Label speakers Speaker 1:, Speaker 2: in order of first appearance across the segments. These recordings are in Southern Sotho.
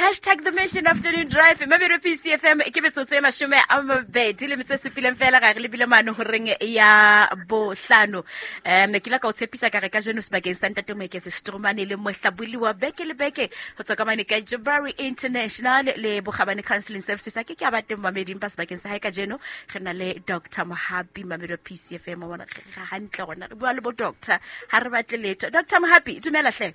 Speaker 1: Hashtag The Mission Afternoon Drive, Mamelodi PCFM. Ke metsotso e 27 fela ga re lebile mane horeng ya 5. Ke la ka o tshepisa ka re ka jeno sebakeng sa ntate Moeketse Stromane le mohlaboli wa beke le beke go tswa ka mane ka Jabari International le Bokgabane Counseling Services. A ke ke a ba teng mameding ba sebakeng sa hae ka jeno re na le Dr. Mohapi, Mamelodi PCFM. Wa bona re hantle gona re bua le bo doctor, ha re batle letho. Dr. Mohapi, dumela hle.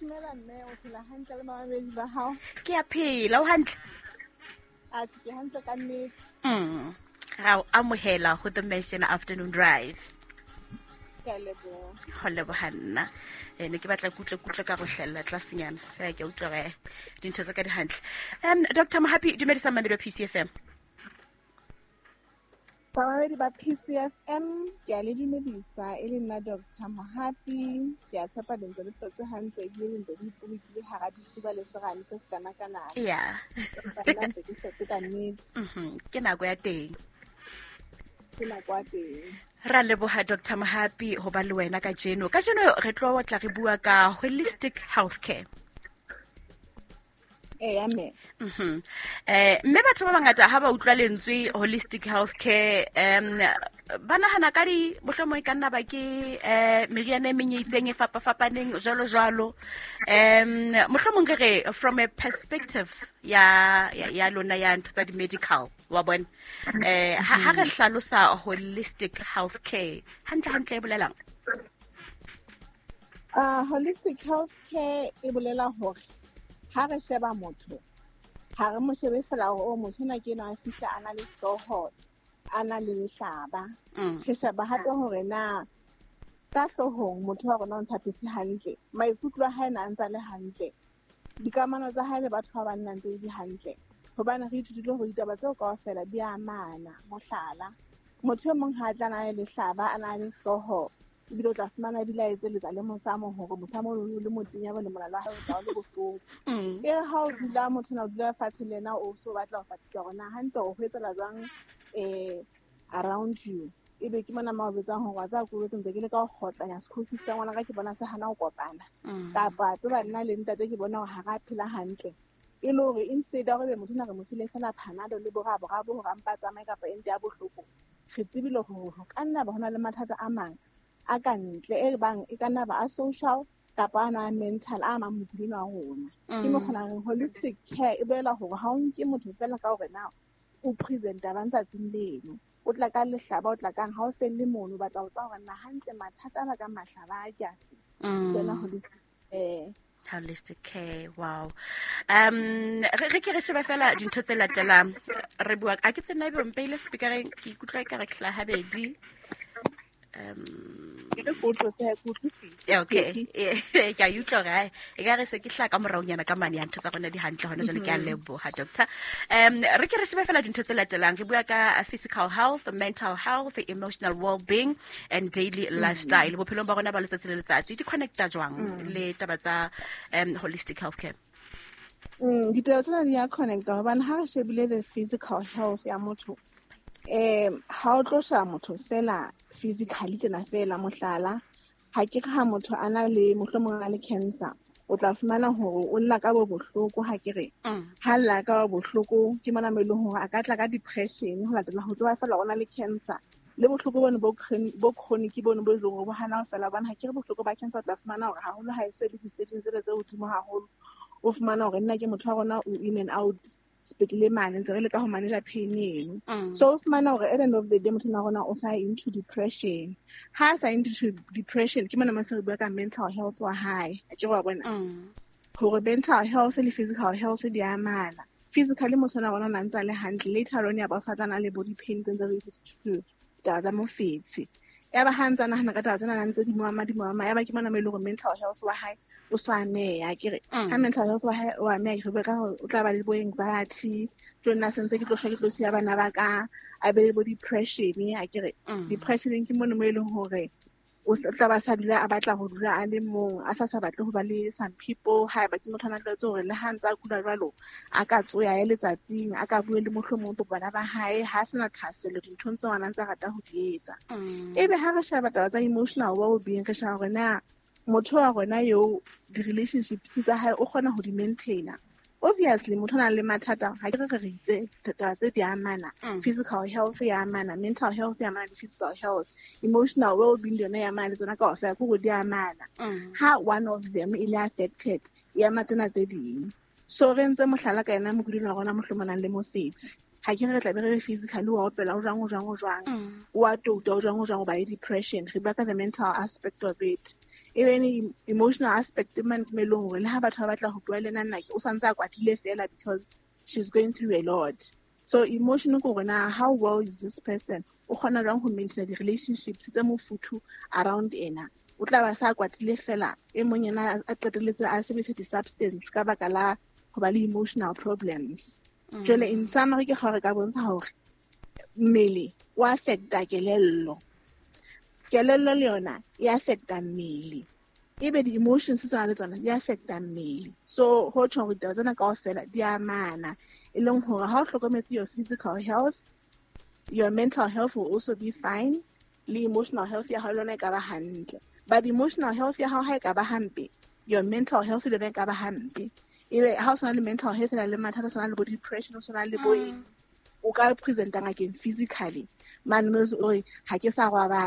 Speaker 2: Dumela mme, o phela hantle le mamedi ba hao?
Speaker 1: Ke a phela, o hantle?
Speaker 2: A ke hantle ka nnete.
Speaker 1: Ra o amohela ho The Mission Afternoon Drive.
Speaker 2: Ke a leboha.
Speaker 1: Ho leboha nna. Ne ke batla kutlwe kutlwe ka go hlella tlasenyana. Fela ke a utlwa hore dintho tsa ka di hantle. Dr. Mohapi, dumedisa mamedi wa PCFM.
Speaker 2: Bamamedi ba PCFM, ke a le dumedisa, e le nna Dr. Mohapi. Ke a tshepa le ntse le hlotse hantle ebile le ntse le ipolokile hara difuba le serame se se kana-kana. Nna ntse ke hlotse ka nnete.
Speaker 1: Ke nako ya teng.
Speaker 2: Ke nako ya teng.
Speaker 1: Ra leboha Dr. Mohapi ho ba le wena kajeno. Kajeno re tlo tla re bua ka holistic healthcare.
Speaker 2: Eya, mme.
Speaker 1: Mme batho ba bangata ha ba utlwa lentswe holistic healthcare, ba nahana ka di mohlomong e ka nna ba ke meriana e meng e itseng e fapafapaneng jwalo jwalo. Mohlomong re re from a perspective ya lona ya ntho tsa di-medical, wa bona. Ha re hlalosa holistic healthcare, hantle hantle e bolelang?
Speaker 2: Holistic healthcare e bolela hore ha re sheba motho, ha re mo shebe fela hore, oh, motho enwa ke enwa a fihla a na le hlooho, a na le lehlaba. Re sheba hape hore na ka hloohong motho wa rona o ntse a phetse hantle, maikutlo a hae na a ntse a le hantle, dikamano tsa hae le batho ba bang na ntse di hantle. Hobane re ithutile hore ditaba tseo kaofela di amana. Mohlala, motho e mong ha a tla na le lehlaba, a na le hlooho, ebile o tla fumana ebile a etseletsa le mosamo hore mosamo o le motenya bo le molala wa hae o tla o le bohloko. E re ha o dula motho na o dula fatshe le yena, o so batla ho fatisisa hore na hantle o ho etsela jwang, around you. Ebe ke mona ma o betsang hore wa tseba ko ntse ke le ka ho kgotlanya school fees sa ngwana ka ke bona se hana ho kopana. Kapa tseba nna le ntate ke bona hore ha ra phela hantle. E le hore instead ya hore ebe motho na re mo file fela Panado le borabo hore a mpa tsamaye kapa ente ya bohloko, re tsebile hore ho ka nna ba hona le mathata a mang a ka ntle e bang e ka nna ba a social kapa a na mental a mang mokudi wa rona. Ke mo kgona reng holistic care e bolela hore ha o nke motho fela ka hore na o presenta ba ntsatsing leno, o tla ka lehlaba, o tla kang, ha o felle mono, o batla ho tseba hore na hantle mathata a bakang mahlaba a ke afe. Ke yona holistic care.
Speaker 1: Holistic care, wow. Re ke re shebe fela dintho tse latelang. Re bua, a ke tsena ebe o mpeile speakereng, ke ikutlwa ekare ke hlaha habedi.
Speaker 2: Ke re ke utlwe, ke utlwisise.
Speaker 1: Yeah, okay. Ke a utlwa hore, hai, e ka re se ke hlaha ka moraonyana ka mane ya ntho tsa rona di hantle hona jwale, ke a leboha, doctor. Re ke re shebe fela dintho tse latelang. Re bua ka physical health, mental health, emotional well-being and daily lifestyle. Bophelong ba rona ba letsatsi le letsatsi di connecta jwang le taba tsa holistic healthcare?
Speaker 2: Ditaba tsena di a connecta hobane ha re shebile the physical health ya motho, ha o tlo sheba motho fela physically tjena fela, mohlala, ha ke re ha motho a na le mohlomong a le cancer, o tla fumana hore o lla ka bo bohloko, ha ke re. Ha lla ka bo bohloko, ke mona mo e leng hore a ka tla ka depression, ho latela ho tseba fela o na le cancer. Le bohloko bone bo chronic bone bo e leng hore bo hana ho fela, hobane ha ke re bohloko ba cancer o tla fumana hore haholo ha e se le di-stageng tsele tse hodimo haholo, o fumana hore nna ke motho wa rona o in and out sepetlele mane, ntse re leka ho manage pain eno. So o fumana hore at the end of the day motho wa rona o sa into depression. Ha a sa into depression, ke mona mo se re bua ka mental health wa hae. A ke wa bona? Hore mental health le physical health di amana. Physically motho wa rona o na ntse a le hantle, later on ya ba o sa tla na le body pain tse ntse re di taba tsa mofetshe. Ya ba ha ntse a nahana ka taba tsena, na ntse di mo ama, di mo ama. Ya ba ke mona mo e leng hore mental health wa hae o so ameha, ke re. Ha mental health wa hae o ameha, ke re bua ka hore o tla ba le bo anxiety, tlo nna se ntse ke tlo shwa, ke tlo siya bana ba ka, a be le bo depression, a ke re. Depression ke mono mo e leng hore o tla ba sa dula a batla ho dula a le mong, a sa batle ho ba le some people. Ha eba ke motho a na tlwaetse hore le ha ntse a kula jwalo, a ka tsoya ya letsatsing, a ka bue le mohlomong bo bana ba hae, ha a sena thahasello dinthong tseo a nang ntse a rata ho di etsa. Ebe ha re sheba taba tsa emotional well-being, re sheba hore na Motho wa rona eo di-relationships tsa hae o kgona ho di maintaina. Obviously motho o nang le mathata, ha ke re re itse taba tse di amana. Physical health ya amana, mental health ya amana le physical health, emotional well-being le yona ya amana le tsona kaofela, ke hore di amana. Ha one of them e le affected, e ama tsena tse ding. So re ntse mohlala ka yena mokudi wa rona mohlomong nang le mofetshe, ha ke re re tlabe re re physically wa opela, o jwang, o jwang, o jwang, o a touta, o jwang, o jwang, o ba le depression. Re bua ka the mental aspect of it. Even emotional aspect man ke melong hore le ha batho ba batla ho bua le nna, nna o santse a kwatile fela because she's going through a lot. So emotion ke hore na how well is this person, o kgona jwang ho maintain di-relationships tse mofuthu around ena. O tla ba sa kwatile fela, e mong yena a qetelletse a sebedisa di-substance ka baka la ho ba le emotional problems. Jwale in summary ke gore ka bontsha hore mmele o affecta kelello, kelello le yona e affecta mmele, ebe di-emotions tsona le tsona di affecta mmele. So ho tjho hore ditaba tsena kaofela di amana, e leng hore ha o hlokometse your physical health, your mental health will also be fine, le emotional health ya hao le yona e ka ba hantle. But emotional health ya hao ha e ka ba hampe, your mental health le yona e ka ba hampe. Ebe ha o sena le mental health e na le mathata, o sena le bo depression, o sena le bo eng, o ka presenta ngakeng physically mane mo o re ha ke sa robala.